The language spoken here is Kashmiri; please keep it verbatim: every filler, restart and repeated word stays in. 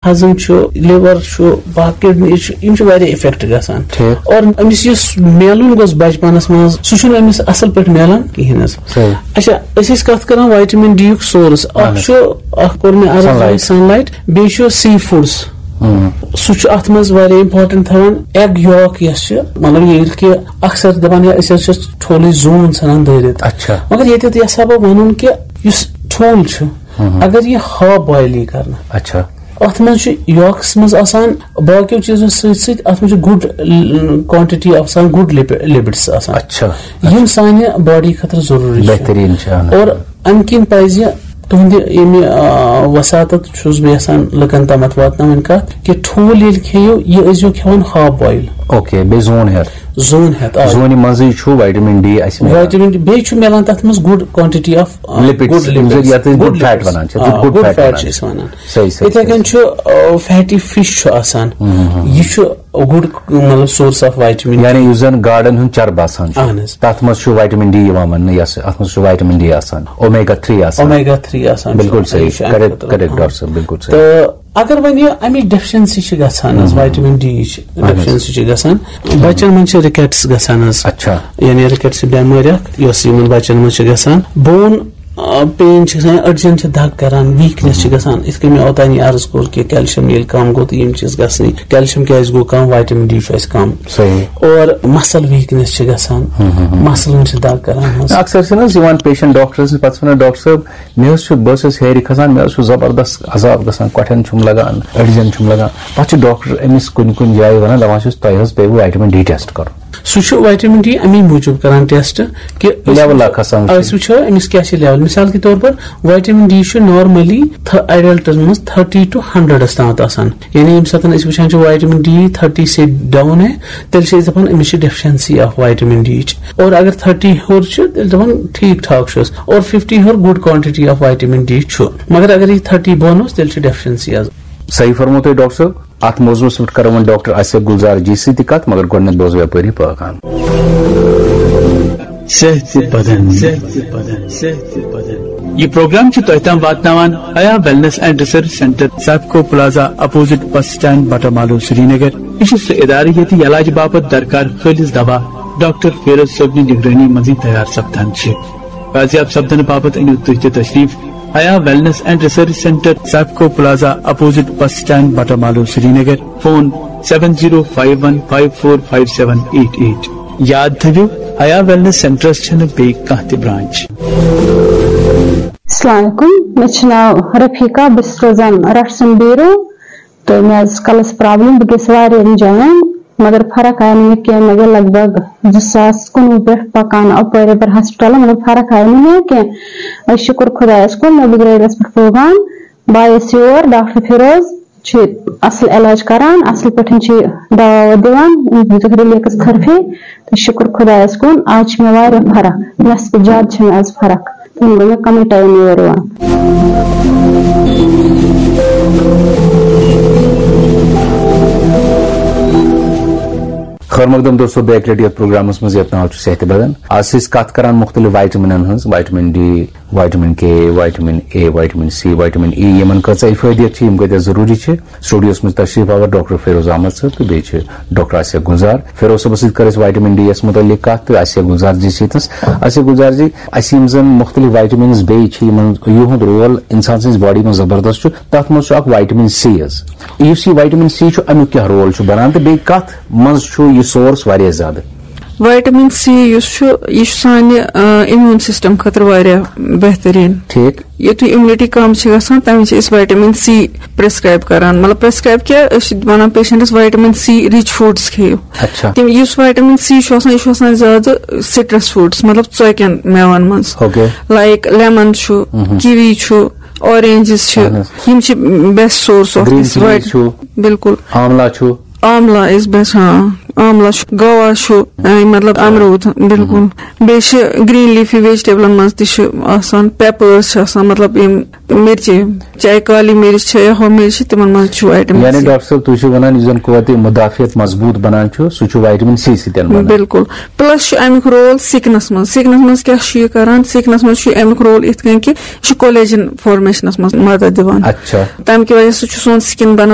ہضم چھُ، لِور چھُ، باقٕے کِڈنی چھُ، یِم چھِ واریاہ اِفیکٹ گژھان۔ ٹھیٖک۔ اور أمِس یُس میلُن گوٚژھ بچپنس منٛز، سُہ چھُنہٕ أمِس اصل پٲٹھۍ میلان کِہیٖنۍ حظ۔ صحیح۔ اچھا، أسۍ ٲسۍ کتھ کران وایٹمن ڈی یُک سورس۔ اہن اکھ حظ۔ چھُ، اکھ کوٚر مےٚ عرض سنلایٹ۔ سنلایٹ، بیٚیہِ چھُ سی فوڈس۔ ہم۔ سُہ چھُ اتھ منٛز واریاہ امپورٹنٹ تھاوان۔ ایگ یوک یۄس چھِ، مطلب ییٚلہِ کہِ اکثر دپان، یا أسۍ حظ چھِ ٹھوٗلٕچ زوٗن ژھٕنان دٲرِتھ۔ اچھا۔ مگر ییٚتٮ۪تھ یژھا بہٕ ونُن کہِ یُس ٹھوٗل چھُ، ہم۔ اگر یہِ ہاف بویل یی کرنہٕ، اچھا۔ اتھ منٛز چھُ یوکس منٛز آسان، باقیو چیٖزو سۭتۍ سۭتۍ اتھ منٛز چھُ گُڈ کوانٹٹی آسان، گُڈ لپڈس آسان۔ اچھا۔ یِم سانہِ باڈی خٲطرٕ ضروٗری چھِ۔ بہتریٖن چھِ، اہن حظ۔ اور امہِ کِنۍ پزِ تُہنٛدِ ییٚمہِ، آ، وساطت چھُس بہٕ یژھان لُکن تامتھ واتناوٕنۍ کتھ کہِ ٹھوٗل ییٚلہِ کھیٚیِو، یہِ ٲسۍزیو کھٮ۪وان ہاف بویل۔ اوکے، بیٚیہِ زوٗن ہٮ۪تھ۔ زوٗن ہٮ۪تھ، آ۔ زوٗنہِ منٛزٕے چھُ وایٹمن ڈی اَسہِ میلان۔ وایٹمن ڈی، بیٚیہِ چھُ میلان تتھ منٛز گُڈ کوانٹٹی آف، آ، لپڈس، گُڈ یِم زن لپڈس، یتھ أسۍ گُڈ گُڈ فیٹ لپڈس۔ ونان چھِ، آ، گُڈ گُڈ فیٹ فیٹ ونان چھِ چھِ۔ أسۍ ونان۔ صحیح، صحیح، یِتھے صحیح، کٔنۍ صحیح۔ چھُ، آ، فیٹی فش چھُ آسان۔ ہم، ہم، ہم۔ یہِ چھُ گُڈ، مطلب، سورس آف وایٹمن۔ یعنی یُس زن گاڈن ہُنٛد چربہٕ آسان چھُ، اہن حظ۔ تتھ منٛز چھُ وایٹمن ڈی یِوان وننہٕ، یس اتھ منٛز چھُ وایٹمن ڈی آسان، اومیگا تھری آسان۔ اومیگا تھری آسان چھُ۔ بلکل صحیح، یہِ چھُ اَمہِ کریکٹ، خٲطرٕ۔ کریکٹ، ڈاکٹر صٲب، بلکل صحیح۔ تہٕ اگر وۄنۍ یہِ امیِچ ڈیفیشنسی چھِ گژھان حظ، ہم۔ وایٹمن ڈی یِچ اہن حظ۔ ڈیفیشنسی چھِ گژھان، بچن منٛز چھِ رِکیٹس گژھان حظ۔ اچھا۔ یعنی رِکیٹس چھِ بٮ۪مٲرۍ اکھ، یۄس یِمن بچن منٛز چھِ گژھان۔ بون، آ، پین چھِ گژھان، أڈجن چھِ دگ کران، ویٖکنیس چھِ گژھان۔ یِتھ کٔنۍ مےٚ اوتانی عرض کوٚر کہِ کیلشیم ییٚلہِ کم گوٚو تہٕ یِم چیٖز گژھنٕے۔ کیلشیم کیازِ گوٚو کم؟ وایٹمن ڈی چھُ اَسہِ کم۔ صحیح۔ اور مسل ویٖکنیس چھِ گژھان، ہم، ہم، ہم۔ مسلن چھِ دگ کران حظ۔ اکثر چھِنہٕ حظ یِوان پیشنٹ ڈاکٹرس نِش، پتہٕ چھِ ونان، "ڈاکٹر صٲب، مےٚ حظ چھُ، بہٕ حظ چھَس ہیرِ کھسان، مےٚ حظ چھُ زبردست عذاب گژھان، کۄٹھٮ۪ن چھُم لگان، أڈجن چھُم لگان۔" پتہٕ چھُ ڈاکٹر أمِس کُنہِ کُنہِ جایہِ ونان، دپان چھُس، "تۄہہِ حظ پیٚیِوٕ وایٹمن ڈی ٹیسٹ کرُن۔" سُہ چھُ وایٹمن ڈی اَمی موٗجوٗب کران ٹیسٹ کہِ أسۍ لیول وٕچھو، اکھ آسان وٕچھُن۔ أسۍ وٕچھو أمِس کیٛاہ چھِ لیول۔ مثال کے طور پر وایٹمن ڈی چھُ نارملی تھَ-، ایڈلٹن منٛز تھرٹی ٹُو ہنڈریڈس تامَتھ آسان۔ یعنی ییٚمہِ ساتہٕ أسۍ وٕچھان چھِ وایٹمن ڈی تھرٹی سے ڈاؤن ہے، تیٚلہِ چھِ أسۍ دَپان أمِس چھِ ڈیفیشنسی آف وایٹمن ڈی یِچ۔ اور اگر تھرٹی ہیوٚر چھُ، تیٚلہِ دَپان ٹھیٖک ٹھاک چھُس۔ اور ففٹی ہیوٚر گُڈ کوانٹٹی آف وایٹمن ڈی چھُ۔ مگر اگر یہِ تھرٹی بۄن اوس، تیٚلہِ چھِ ڈیفیشنسی حظ۔ صحیح فرموو تۄہہِ ڈاکٹر صٲب۔ اتھ موضوعس پٮ۪ٹھ کرو وۄنۍ ڈاکٹر آصف گلزار جی سۭتۍ تہِ کتھ، مگر گۄڈٕنٮ۪تھ بوزو یپٲرۍ یہِ پٲغام۔ صحت تہِ بدن، صحت تہِ بدن، صحت تہِ بدن۔ یہ پروگرام چھُ تۄہہِ تام واتناوان Haya wellness and research centre, Sifco plaza, opposite bus stand, Batamaloo, Srinagar. یہ چھُ سُہ ادارٕ ییٚتہِ علاج باپتھ درکار خٲلص دوا ڈاکٹر فیروز صٲبنہِ نگرٲنی منٛزٕے تیار سپدان چھِ۔ بازیاب سپدنہٕ باپتھ أنِو تُہۍ تہِ تشریف Haya wellness and research centre, Sifco plaza, opposite bus stand, Batamaloo, Srinagar. Phone seven zero five one five four five seven eight eight. یاد تھٲوِو، حیا ویلنس سینٹرس چھنہٕ بیٚیہِ کانٛہہ تہِ برانچ۔ السلام علیکم، مےٚ چھُ ناو رفیقہ، بہٕ چھَس روزان رٹھ سُنٛد بیٖرو، تہٕ مےٚ ٲس کَلَس پرابلم، بہٕ گٔیَس واریاہَن جایَن، مگر فرق آیہِ نہٕ مےٚ کینٛہہ۔ مےٚ گٔے لگ بگ زٕ ساس کُنوُہ پٮ۪ٹھ پکان اَپٲرۍ یَپٲرۍ ہسپتالَن، مگر فرق آیہِ نہٕ مےٚ کینٛہہ۔ وۄنۍ شُکُر خۄدایَس کُن، مےٚ بہٕ درٛایَس پٮ۪ٹھ پھوگان، بہٕ آیَس یور، ڈاکٹر فیروز چھِ اَصٕل علاج کران، اَصٕل پٲٹھۍ چھِ دوا ووا دِوان، أمۍ دیُتُکھ ریلیکس خرفے، تہٕ شُکُر خۄدایَس کُن، آز چھِ مےٚ واریاہ فرق، نٮ۪صفہٕ زیادٕ چھِ مےٚ آز فرق۔ تہٕ وۄنۍ گوٚو مےٚ کَمٕے ٹایم یور یِوان۔ خٲر مقدم دوستو، بیٚیہِ اَکہِ لَٹہِ یَتھ پروگرامَس منٛز یَتھ ناو چھُ صحتِ بدن۔ آز چھِ أسۍ کَتھ کران مُختٔلِف وایٹمِنَن ہٕنٛز، vitamin D, vitamin K, vitamin A, vitamin C, vitamin ای، یِمَن کۭژاہ فٲیدٕ چھِ، یِم کۭتیٛاہ ضروٗری چھِ۔ سٹوڈیوَس منٛز تشریف آور ڈاکٹر فیروز احمد صٲب تہٕ بیٚیہِ چھِ ڈاکٹر آصف گلزار۔ فیروز صٲبَس سۭتۍ کٔر اَسہِ وایٹمِن ڈی یَس مُتعلِق کَتھ تہٕ آصف گلزار جی سۭتۍ۔ آصف گلزار جی، اَسہِ یِم زَن مُختٔلِف وایٹمِنٕز بیٚیہِ چھِ، یِمَن یِہُنٛد رول اِنسان سٕنٛزِ باڈی منٛز زبردست چھُ، تَتھ منٛز چھُ اَکھ وایٹمِن سی حظ۔ یُس یہِ وایٹمِن سی چھُ، اَمیُک کیٛاہ رول چھُ بَنان تہٕ بیٚیہِ کَتھ منٛز چھُ یہِ سورس واریاہ زیادٕ؟ وایٹمِن سی یُس چھُ، یہِ چھُ سانہِ، آ، امیوٗن سسٹم خٲطرٕ واریاہ بہتریٖن۔ ٹھیٖک۔ یُتھُے امیونٹی کم چھِ گژھان، تَمہِ وِزِ چھِ أسۍ وایٹمِن سی پرسکرائب کران۔ مطلب، پرسکرائب کیٛاہ؟ أسۍ چھِ وَنان patients vitamin C rich foods کھیٚیِو۔ اچھا۔ تِم، یُس وایٹمِن سی چھُ آسان، یہِ چھُ آسان زیادٕ سٹرس فوڈس، مطلب، ژۄکٮ۪ن مٮ۪وَن منٛز۔ اوکے۔ لائک لیمن چھُ، مہم۔ کیوی چھُ، اورینجز چھِ، اہن حظ۔ یِم چھِ best source of green this chilli white-, چھُ۔ بِلکُل۔ آملا چھُ۔ آملا از بیسٹ، ہاں۔ آملا چھُ، گوا چھُ، اے، مطلب، امروٗد، بِلکُل۔ مہم۔ بیٚیہِ چھِ گرین لیفی ویجٹیبلن منٛز تہِ چھِ آسان، پیپٲرس چھِ آسان، مطلب، یِم مرچہِ، چاہے کالی مرچ چھِ یا ہۄ مرچ چھِ، تِمن منٛز چھُ وایٹمِن یعنی سی۔ ڈاکٹر صٲب، تُہۍ چھِو وَنان، یُس زَن قوتِ مدافعت مضبوٗط بَنان چھُ، سُہ چھُ وایٹمِن سی سۭتۍ بَنان۔ بِلکُل۔ پلس چھُ اَمیُک رول سِکنس منٛز۔ سِکنس منٛز کیٛاہ چھُ یہِ کران؟ سِکنس منٛز چھُ اَمیُک رول یِتھ کٔنۍ کہِ یہِ چھُ کولیجن فارمیشنس منٛز مدد دِوان۔ اچھا۔ تَمہِ کہِ وجہ سۭتۍ چھُ سون سِکِن بَنان